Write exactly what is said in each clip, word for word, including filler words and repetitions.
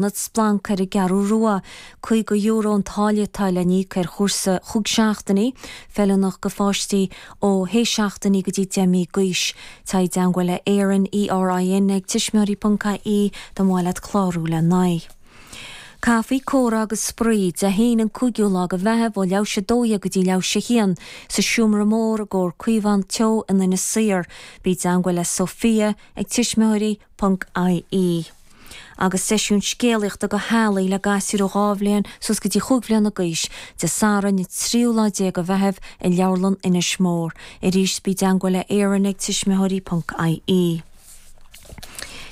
Ionad Splanc ar an gCeathrú Rua. Caoga euro an táille atá le n-íoc ar chúrsa chúig seachtainí, feiliúnach do pháistí ó shé seachtainí go dtí deich mí d'aois. Téigh i dteangmháil le Erin, E R I N, ag tuismitheoirí ponc I E dá mba mhaith leat clárú le n-aghaidh. Caife, comhrá agus spraoi, Dé hAoine an cúigiú lá de Mheitheamh ó leathuair théis a dó dhéag go dtí leathuair théis a haon sa Seomra Mór i gComhar Caomhán Teo in Inis Oírr. Bí i dteangmháil le Sophia ag tuismitheoirí ponc I E. Agus seisiún scéalaíochta do theaghlaigh le gasúir ó dhá bhliain suas go dtí chúig bhliana d'aois, Dé Sathairn an tríú lá déag de Mheitheamh i Leabharlann Inis Mór. Arís bí i dteangmháil le Erin ag tuismitheoirí ponc I E.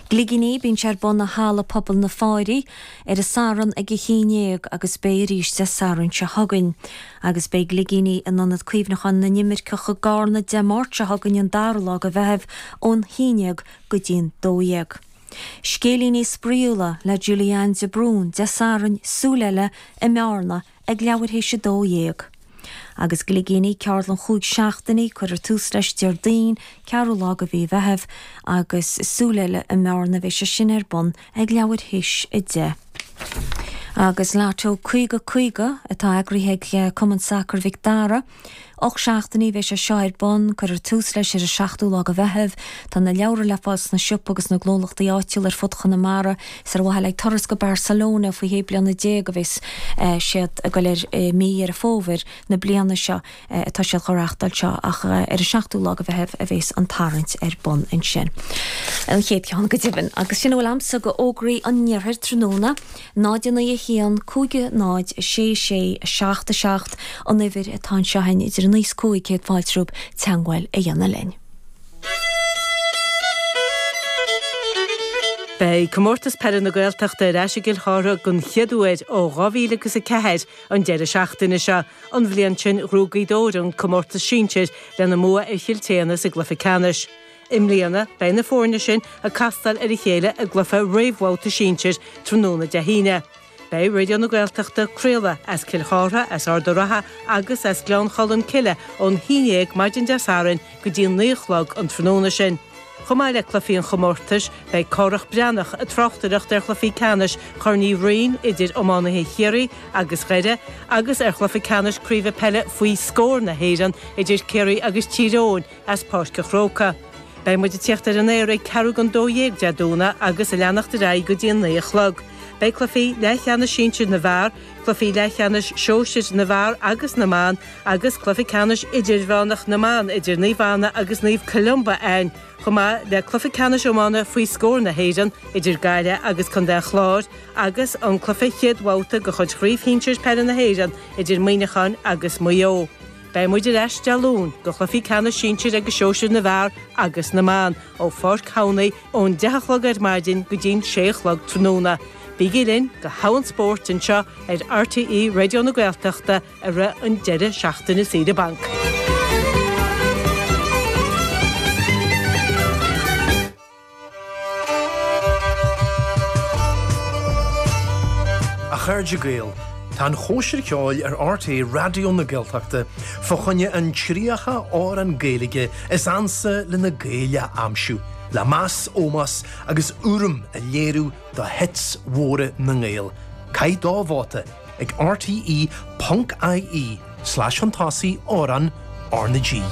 Gligíní, bíonn sé ar bun i Halla Pobail na Fáirí ar an Satharn ag a haon déag agus beidh arís Dé Sathairn seo chugainn. Agus beidh Gligíní in Ionad Cuimhneacháin na nImirceach i gCarna Dé Máirt seo chugainn an dara lá de Mheitheamh ón haon déag go dtí'n dó dhéag. Scéilíní spraíúla le Julianne de Brún, Dé Sathairn, Súil Eile i mBearna ag leathuair théis a dó dhéag. Agus Gligíní, ceardlann chúig seachtainí, cuirfear tús leis Déardaoin, ceathrú lá de mhí Mheithimh agus Súil Eile i mBearna bheidh sé sin ar bun ag leathuair théis a deich. Agus Lotto caoga caoga atá eagraithe ag Cumann Sacair Mhic Dara. Ocht seachtainí bheidh sé seo ar bun, cuirfear tús leis ar an seachtú lá de Mheitheamh. Tá na leabhra le fáil sna siopaí agus na gnólachtaí áitiúla ar fud Chonamara. Is ar mhaithe le turas go Barcelona faoi shé bliana déag a bheas siad ag dul ar mí Dheireadh Fómhair na bliana seo atá siad á reáchtáil seo ach ar an seachtú lá de Mheitheamh a bheas an tarraingt ar bun ansin. An chéad cheann go deimhin. Agus sin a bhfuil agamsa de fhógraí an iarthair tráthnóna, náid naoi a haon cúig náid sé sé seacht a seacht an uimhir atá anseo idir naoi is cúig céad fáilte romhaibh teagmháil a dhéanamh linn. Beidh comórtas peile na Gaeltachta ar ais i gCill Chartha den chéad uair ó dhá mhíle agus a ceathair an deireadh seachtaine seo. An bhliain sin ghnóthaigh Gaoth Dobhair an comórtas sinsir lena mbua ar Chill tSéadhna sa gcluiche ceannais. I mbliana beidh na foirne sin ag castáil ar a chéile i gcluiche réamhbhabhta sinsir tráthnóna Dé hAoine. Beidh Raidió na Gaeltachta ag craoladh as Cill Chartha, as Ard an Rátha agus as Gleann Cholm Cille ón haon déag maidin Dé Sathairn go dtí naoi a chlog an tráthnóna sin. Chomh maith le cluichí an chomórtais, beidh Cárthach Breathnach ag tráchtaireacht ar chluichí ceannais Chorn Uí Rinn idir iománaithe Chiarraí agus Dhoire agus ar chluiche ceannais craoibhe peile faoi scór na hÉireann idir Ciarraí agus Tír Eoghain as Páirc an Chrócaigh. Beidh muid ag tíocht ar an aer ag ceathrú don dó dhéag Dé Domhnaigh agus ag leanacht ar aghaidh go dtí an naoi a chlog. Beidh cluichí leathcheannais sinsir na bhfear, cluichí leathcheannais sóisir na bhfear agus na mban agus cluiche ceannais idirmheánach na mban idir Naomh Anna agus Naomh Columba ann, chomh maith le cluiche ceannais iomána faoi scór na hÉireann idir Gaillimh agus Contae an Chláir agus an cluiche chéad bhabhta de chuid Chraobh Shinsir Peile na hÉireann idir Muineachán agus Maigh Eo. Beidh muid ar ais Dé Luain do chluichí ceannais sinsir agus sóisir na bhfear agus na mban ó Pháirc Thamhnaigh ón deich a chlog ar maidin go dtí'n sé a chlog tráthnóna. Bígí linn do thogha an spóirt anseo ar R T E Raidió na Gaeltachta i rith an deireadh seachtaine saoire bainc. A chairde Gael, tá an Chóisir Cheoil ar R T É Raidió na Gaeltachta fá choinne an tríocha amhrán Gaeilge is ansa le na Gaeil a aimsiú, le meas, ómós agus urraim a léiriú do hits mhóra na nGael. Caith do vóta ag R T E ponc I E slash chun tosaigh amhrán R na G.